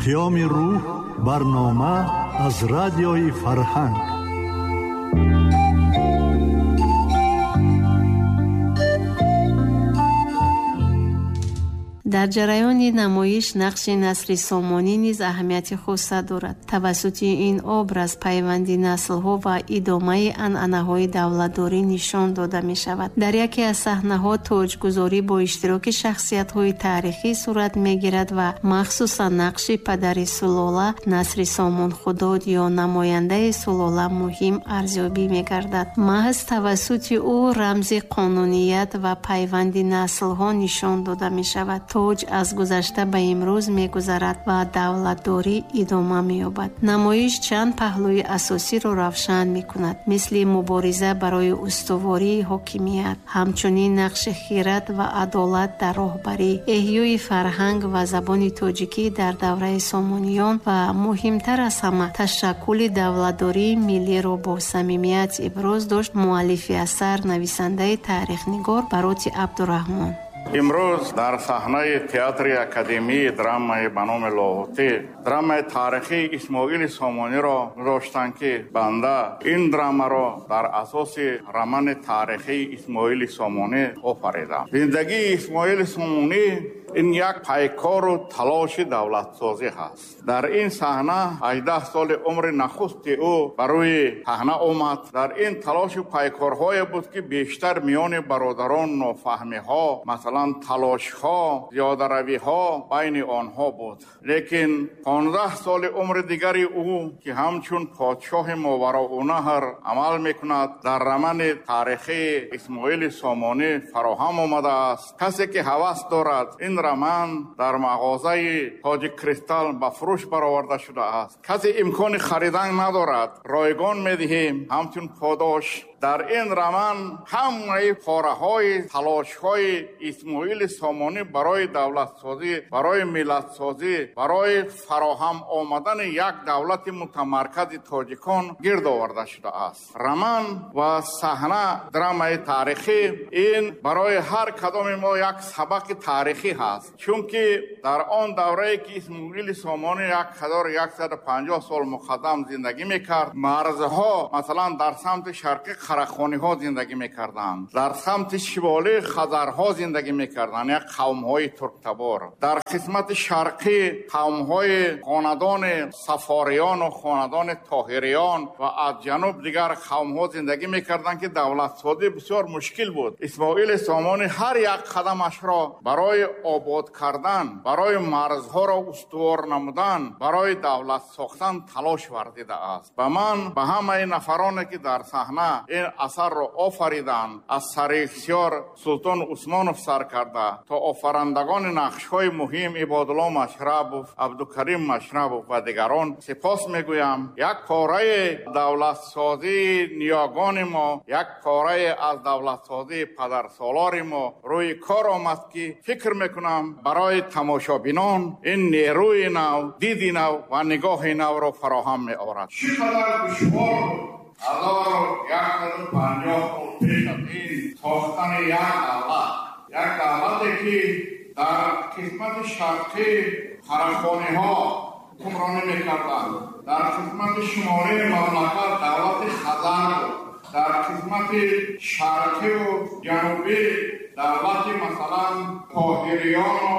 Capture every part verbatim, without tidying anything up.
Паёми рӯҳ, барнома аз радиои Фарҳанг. Дар ҷараёни намоиш нақши Насри Сомонӣ низ аҳамияти хоса дорад. Тавассути ин образ пайванди наслҳо ва идомаи анъанаҳои давлатдорӣ нишон дода мешавад. Дар яке аз саҳнаҳо тоҷгузорӣ бо иштироки шахсиятҳои таърихӣ сурат мегирад ва махсусан нақши падари сулола Насри Сомон Худод ё намояндаи сулола муҳим арзёбӣ мегардад. Маҳз тавассути ӯ рамзи қонуният ва пайванди наслҳо нишон дода мешавад. Тоҷ аз гузашта ба имрӯз мегузарад ва давлатдорӣ идома меёбад. Намоиш чанд паҳлӯи асосиро равшан мекунад, мисли мубориза барои устувории ҳокимият, ҳамчунин нақши хират ва адолат дар роҳбарӣ, эҳёи фарҳанг ва забони тоҷикӣ дар давраи сомониён ва муҳимтар аз ҳама ташаккули давлатдории миллиро бо самимият иброз дошт муаллифи асар, нависандаи таърихнигор Бароти Абдураҳмон. Имрӯз дар саҳнаи театри академии драмаи ба номи Лоҳутӣ драмаи таърихии Исмоили Сомониро гузоштанд, ки банда ин драмаро дар асоси романи таърихии Исмоили Сомонӣ офаридам. Зиндагии Исмоили Сомонӣ ин як пайкору талоши давлатсозӣ ҳаст. Дар ин саҳна ҳаждаҳ соли умри нахусти ӯ ба рӯи саҳна омад. Дар ин талошу пайкорҳое буд, ки бештар миёни бародарон нофаҳмиҳо, масалан талошҳо, зиёдаравиҳо байни онҳо буд. Лекин понздаҳ соли умри дигари ӯ, ки ҳамчун подшоҳи Мовароуннаҳр амал мекунад, дар романи таърихии Исмоили Сомонӣ фароҳам омадааст. Касе ки ҳавас дорад, ин роман дар мағозаи Тоҷик Кристал ба фурӯш бароварда шудааст. Касе имкони харидан надорад, ройгон медиҳем ҳамчун подош. Дар ин роман ҳамаи пораҳои талошҳои Исмоили Сомонӣ барои давлатсозӣ, барои миллатсозӣ, барои фароҳам омадани як давлати мутамаркази тоҷикон гирд оварда шудааст. Роман ва саҳна драмаи таърихӣ ин барои ҳар кадоми мо як сабақи таърихӣ ҳаст, чунки дар он даврае ки Исмоили Сомонӣ як ҳазору яксаду панҷоҳ сол муқаддам зиндагӣ мекард, марзҳо масалан дар самти шарқӣ қарахониҳо зиндагӣ мекарданд, дар самти шимолӣ хазарҳо зиндагӣ мекарданд, як қавмҳои турктабор, дар қисмати шарқӣ қавмҳои хонадони сафориён ва хонадони тоҳириён ва аз ҷануб дигар қавмҳо зиндагӣ мекарданд, ки давлатсозӣ бисёр мушкил буд. Исмоили Сомонӣ ҳар як қадамашро барои обод кардан, барои марзҳоро устувор намудан, барои давлат сохтан талош варзидааст. Ба ман, ба ҳамаи нафароне ки дар саҳна ин асарро офариданд, аз саррежиссёр Султон Усмонов сар карда то офарандагони нақшҳои муҳим Ибодулло Машрабов, Абдукарим Машрабов ва дигарон сипос мегӯям. Як пораи давлатсозии ниёгони мо, як пораи аз давлатсозии падарсолори мо рӯи кор омад, ки фикр мекунам барои тамошобинон ин нерӯи нав, диди нав ва нигоҳи навро фароҳам меорад. Чӣ қадар душвор буд ҳазору яксаду панҷоҳ сол пеш аз ин сохтани як давлат, як давлате ки дар қисмати шарқӣ қарахониҳо ҳукмронӣ мекарданд, дар қисмати шимолии мамлакат давлати хазар буд, дар қисмати шарқиву ҷанубӣ давлати масалан тоҳириёну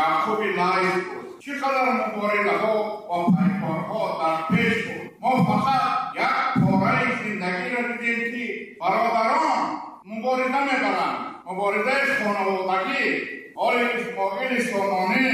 Яъқуби Лайс буд. Чӣ қадар муборизаҳо ва пайкорҳо дар пеш буд. Мо фақат як пораи зиндагиро дидем, ки бародарон мубориза мебаранд, муборизаи хонаводагӣ. Ҳоли Исмоили Сомонӣ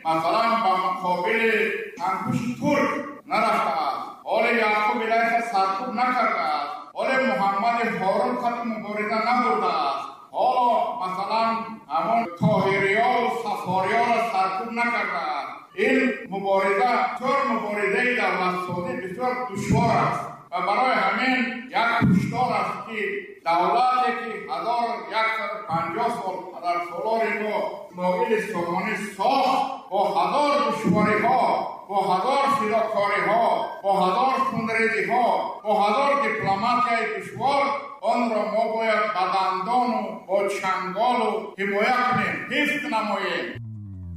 масалан ба муқобили чангпӯши турк нарафтааст, ҳоли Яъқуби Лайса саркӯб накардааст, ҳоли Муҳаммади Ҳорун қати мубориза набурдааст, ҳоло масалан ҳамон тоҳириёву сафориёро саркӯб накардааст. Ин мубориза бисёр муборизаи давлатсозӣ бисёр душвор аст ва барои ҳамин як ҳушдор аст, ки давлате ки ҳазору яксаду панҷоҳ сол падарсолори мо Исмоили Сомонӣ сохт, бо ҳазор душвориҳо, бо ҳазор фидокориҳо, бо ҳазор хунрезиҳо, бо ҳазор дипломатияи душвор, онро мо бояд ба дандону бо чанголу ҳимоя кунем, ҳифз намоем.